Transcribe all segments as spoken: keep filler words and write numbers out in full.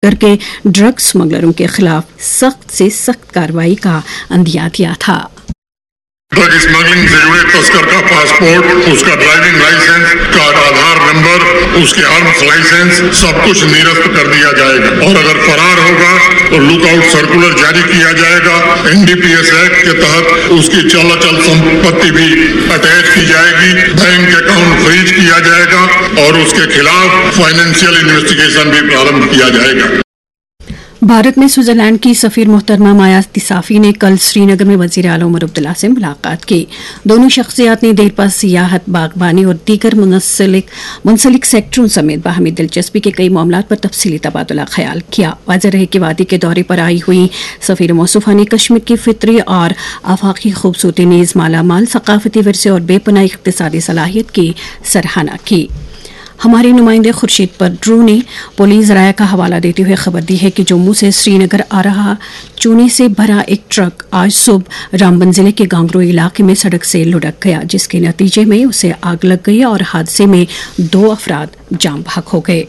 करके ड्रग स्मगलरों के खिलाफ सख्त से सख्त कार्रवाई का अंदिया दिया था। ड्रग स्मगलिंग से जुड़े तस्कर का पासपोर्ट, उसका ड्राइविंग लाइसेंस, उसका आधार नंबर, उसके आर्म्स लाइसेंस, सब कुछ निरस्त कर दिया जाएगा। और अगर फरार होगा तो लुकआउट सर्कुलर जारी किया जाएगा। एनडीपीएस एक्ट के तहत उसकी चल अचल संपत्ति भी अटैच की जाएगी, बैंक अकाउंट फ्रीज किया जाएगा और उसके खिलाफ फाइनेंशियल इन्वेस्टिगेशन भी प्रारंभ किया जाएगा। भारत में स्विट्जरलैंड की सफीर मोहतरमा माया तिसाफी ने कल श्रीनगर में वजीर आला उमर अब्दुल्ला से मुलाकात की। दोनों शख्सियात ने देरपा सियाहत, बागबानी और दीगर मुंसलिक मुंसलिक सेक्टरों समेत बाहमी दिलचस्पी के कई मामलों पर तफसीली तबादला ख्याल किया। वाजह रहे कि वादी के दौरे पर आई हुई सफीर मोसफा ने कश्मीर की फितरी और आफाकी खूबसूरती, नीज मालामाल सकाफती विरसे और बेपनाह इकतसादी सलाहियत की सराहना की। हमारे नुमाइंदे खुर्शीद पडरू ने पुलिस राय का हवाला देते हुए खबर दी है कि जम्मू से श्रीनगर आ रहा चूने से भरा एक ट्रक आज सुबह रामबन जिले के गांगरो इलाके में सड़क से लुढ़क गया, जिसके नतीजे में उसे आग लग गई और हादसे में दो अफराद जाम बहक हो गए।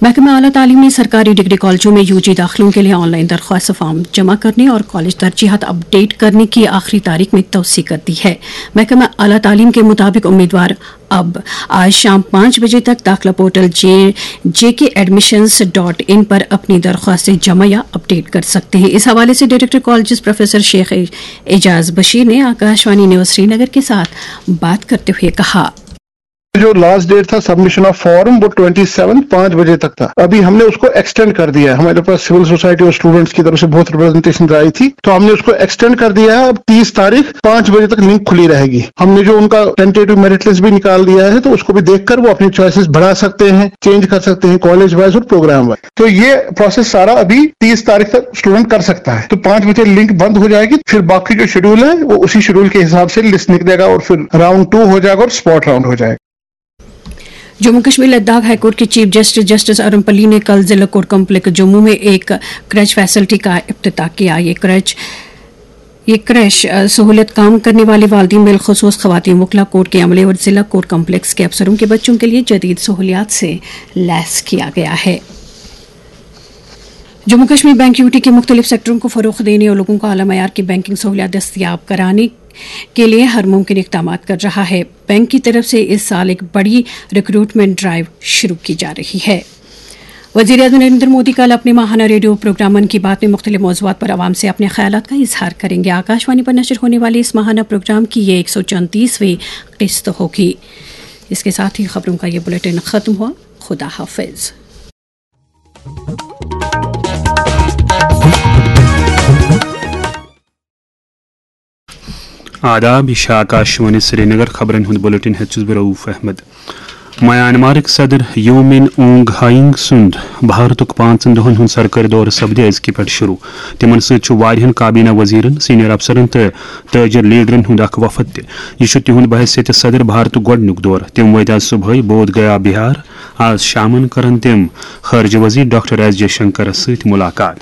महकमा आला तालीम ने सरकारी डिग्री कॉलेजों में यूजी दाखिलों के लिए ऑनलाइन दरख्वास्त फॉर्म जमा करने और कॉलेज तरजीहत अपडेट करने की आखिरी तारीख में तोसी कर दी है। महकमा आला तालीम के मुताबिक उम्मीदवार अब आज शाम पाँच बजे तक दाखिला portal J JK admissions dot in पर अपनी दरख्वास्तें जमा या अपडेट कर सकते हैं। इस हवाले से director colleges professor Sheikh Ejaz Bashir ने आकाशवाणी न्यूज श्रीनगर के साथ बात करते हुए कहा। जो लास्ट डेट था सबमिशन ऑफ फॉर्म, वो ट्वेंटी सेवन पाँच बजे तक था। अभी हमने उसको एक्सटेंड कर दिया है। हमारे पास सिविल सोसाइटी और स्टूडेंट्स की तरफ से बहुत रिप्रेजेंटेशन आई थी, तो हमने उसको एक्सटेंड कर दिया है। अब तीस तारीख पाँच बजे तक लिंक खुली रहेगी। हमने जो उनका टेंटेटिव मेरिट लिस्ट भी निकाल दिया है, तो उसको भी देखकर वो अपनी चॉइसेस बढ़ा सकते हैं, चेंज कर सकते हैं कॉलेज वाइज और प्रोग्राम वाइज। तो ये प्रोसेस सारा अभी तीस तारीख तक स्टूडेंट कर सकता है। तो पाँच बजे लिंक बंद हो जाएगी, फिर बाकी जो शेड्यूल है वो उसी शेड्यूल के हिसाब से लिस्ट निकलेगा और फिर राउंड टू हो जाएगा और स्पॉट राउंड हो जाएगा। जम्मू कश्मीर लद्दाख हाईकोर्ट के चीफ जस्टिस जस्टिस अरुण पल्ली ने कल जिला कोर्ट कॉम्प्लेक्स जम्मू में एक क्रच फैसिलिटी का इफ्तिताह किया। ये क्रच ये क्रैश अ, सहूलियत काम करने वाली वालदीन, बिलखसूस खवातीन वकला, कोर्ट के अमले और जिला कोर्ट कॉम्प्लेक्स के अफसरों के बच्चों के लिए जदीद सहूलियात से लैस किया गया है। जम्मू कश्मीर बैंक यूटी के मुख्तलिफ सेक्टरों को फ़रोग देने और लोगों को आला मयार की बैंकिंग सहूलियात दस्तियाब कराने के लिए हर मुमकिन इकदाम कर रहा है। बैंक की तरफ से इस साल एक बड़ी रिक्रूटमेंट ड्राइव शुरू की जा रही है। वजीर आजम नरेंद्र मोदी कल अपने माहाना रेडियो प्रोग्राम मन की बात में मुख्तलिफ मौजूआत पर आवाम से अपने ख्यालात का इजहार करेंगे। आकाशवाणी पर नशर होने वाले इस माहाना प्रोग्राम की ये एक सौ चौंतीसवीं किस्त होगी। इसके साथ ही खबरों का ये बुलेटिन खत्म हुआ। खुदा हाफिज। آداب، یہ چھِ آکاشوانی سرینگر۔ خبرن ہُنٛد بلیٹن ہیٚتھ چھُس بہٕ رؤف احمد۔ میانمارٕکۍ صدر یو مِن اونگ ہاینگ سُنٛد بھارتُک پانٛژن دۄہن ہُنٛد سرکٲرۍ دورٕ سپدِ أزکہِ پٮ۪ٹھ شروع۔ تِمن سۭتۍ چھُ واریاہن کابینہ وزیرن، سینئر افسرن تہٕ تاجر لیڈرن ہُنٛد اکھ وفد تہِ۔ یہِ چھُ تِہُنٛد بحیثیت صدر بھارتُک گۄڈٕنیُک دورٕ۔ تِم وٲتۍ آز صبحٲے بودھ گیا، بہار۔ آز شامن کرن تِم خارجہ وزیر ڈاکٹر ایس جے شنکرس سۭتۍ ملاقات۔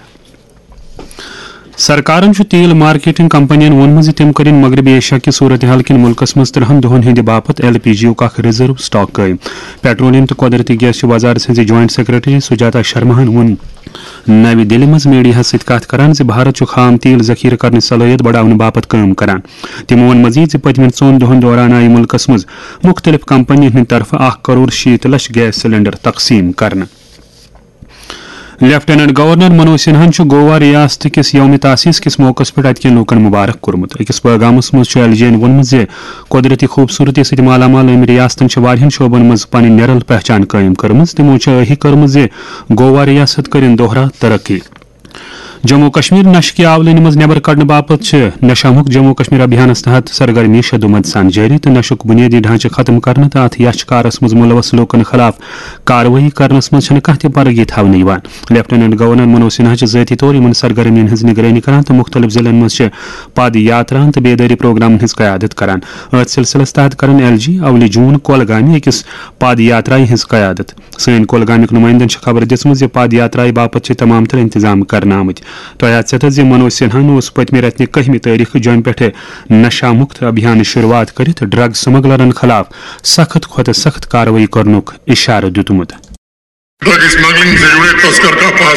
سرکارن چھُ تیل مارکیٹنگ کمپنین ووٚنمُت زِ تِم کٔرِن مغربی ایشیا کہِ صورتحال کِنۍ مُلکس منٛز ترٛہن دۄہن ہٕنٛدِ باپتھ ایل پی جی یُک اکھ ریزرو سٹاک قٲیِم۔ پیٹرولیم تہٕ قۄدرٔتی گیس چہِ وزارت سٕنٛزِ جوائنٹ سیکرٹری سجاتا شرماہن ووٚن نَوِ دِلہِ منٛز میڈیاہس سۭتۍ کتھ کران زِ بھارت چھُ خام تیل ذخیرٕ کرنٕچ صلٲحیت بڑاونہٕ باپتھ کٲم کران۔ تِمو ووٚن مزید زِ پٔتمٮ۪ن ژۄن دۄہن دوران آیہِ مُلکس منٛز مُختٔلِف کمپنین ہٕنٛدِ طرفہٕ اکھ کرور شیٖتھ لچھ گیس سلنڈر تقسیٖم کرنہٕ۔ لیفٹیننٹ گورنر منوج سنہاہن چھُ گوا ریاست کِس یوم تاسیس کِس موقعس پٮ۪ٹھ اتہِ کٮ۪ن لوٗکن مبارک کوٚرمُت۔ أکِس پیغامس منٛز چھُ ایل جے یَن ووٚنمُت زِ قۄدرٔتی خوٗبصوٗرتی سۭتۍ مالا مال أمۍ ریاستن چھِ واریاہن شعبن منٛز پنٕنۍ نِرل پہچان قٲیِم کٔرمٕژ۔ تِمو چھِ ٲہی کٔرمٕژ زِ گوا ریاست کٔرِن دۄہرا ترقی۔ جموں و کشمیر نشہٕ کہِ آولٲنی منٛز نٮ۪بر کڑنہٕ باپتھ چھِ نشہ مکت جموں و کشمیر ابھیانس تحت سرگرمی شدومت سان جٲری تہٕ نشُک بنیٲدی ڈھانچہٕ ختم کرنہٕ تہٕ اتھ یچھ کارس منٛز ملوث لوٗکن خلاف کاروٲیی کرنس منٛز چھنہٕ کانٛہہ تہِ پرگی تھاونہٕ یِوان۔ لیفٹیننٹ گورنر منوج سنہا چھِ ذٲتی طور یِمن سرگرمین ہٕنٛز نگرٲنی کران تہٕ مُختٔلِف ضلعن منٛز چھِ پد یاتراہن تہٕ بیدٲری پروگرامن ہٕنٛز قیادت کران۔ أتھۍ سلسلس تحت کرن ایل جی اولہِ جون کولگامہِ أکِس پد یاترایہِ ہٕنٛز قیادت۔ سٲنۍ کولگامٕکۍ نُمٲیندن چھِ خبر دِژمٕژ زِ پد یاترایہِ باپتھ چھِ تمام تر انتظام کرنہٕ آمٕتۍ۔ تۄہہِ آسہِ ژےٚ تھٔز زِ منوج سنہاہن اوس پٔتمہِ رٮ۪تہٕ نہِ کٔہمہِ تٲریخہٕ جوٚمہِ پٮ۪ٹھٕ نشہ مکت ابھیانٕچ شروعات کٔرِتھ ڈرگ سمگلرن خلاف سخت کھۄتہٕ سخت کاروٲیی کرنُک اشارٕ دیُتمُت۔ ڈرگ اسمگلنگ سے جڑے تسکر کا پاس